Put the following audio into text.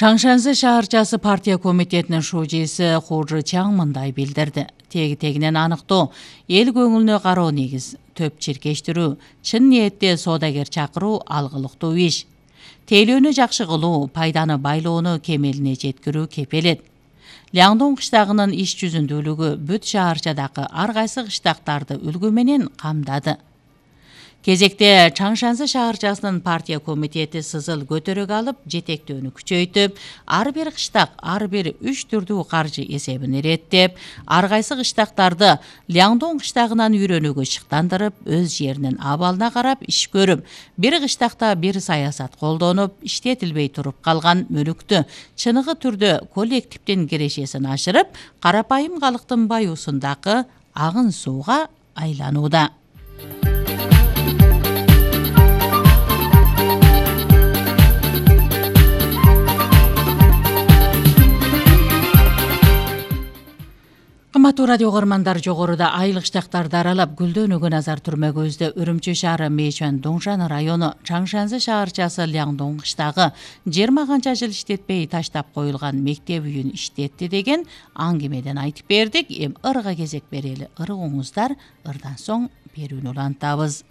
Чаңшанзы шаарчасы партия комитетинин шужиси Ху Чжичаң мындай билдирди. Теги-тегинен аныктоо, эл көңүлүнө кароо негиз, төп чиркештирүү, чын ниетте соодагер чакыруу алгылыктуу иш. Тейлөөнү жакшы кылуу, пайданы байлоону кемелине жеткирүү кепелет. Ляңдоң кыштагынын иш жүзүндүүлүгү бүт шаарчадагы ар кайсы кыштактарды үлгү менен камдады. Кезекте Чаңшанзы шаарчасынын партия комитети сызыл көтөрөк алып, жетектөөнү күчөйтүп, ар бир кыштак ар бир 3 түрдүү каржы эсебин иреттеп, ар кайсы кыштактарды Ляңдоң кыштагынан үйрөнүүгө шыктандырып, өз жеринин абалына карап иш көрүп, бир кыштакта бир саясат колдонуп, иштетилбей туруп калган мүлүктү чыныгы түрдө коллективдин кирешесин ашырып, карапайым калктын баюусундагы агын сууга айланууда. Кымбаттуу радио көрөрмандар, жогоруда айыл кыштактарды аралап гүлдөнүүгө назар түрмөгүбүздө Үрүмчү шаары Мэйчуан Доңжан району Чаңшанзы шаарчасы Ляңдоң кыштагы 20 канча жыл иштетпей таштап коюлган мектеп үйүн иштетти деген аңгемеден айтып бердик. Эми ырга кезек берели. Ыргыңыздар, ырдан соң берүүнү улантабыз.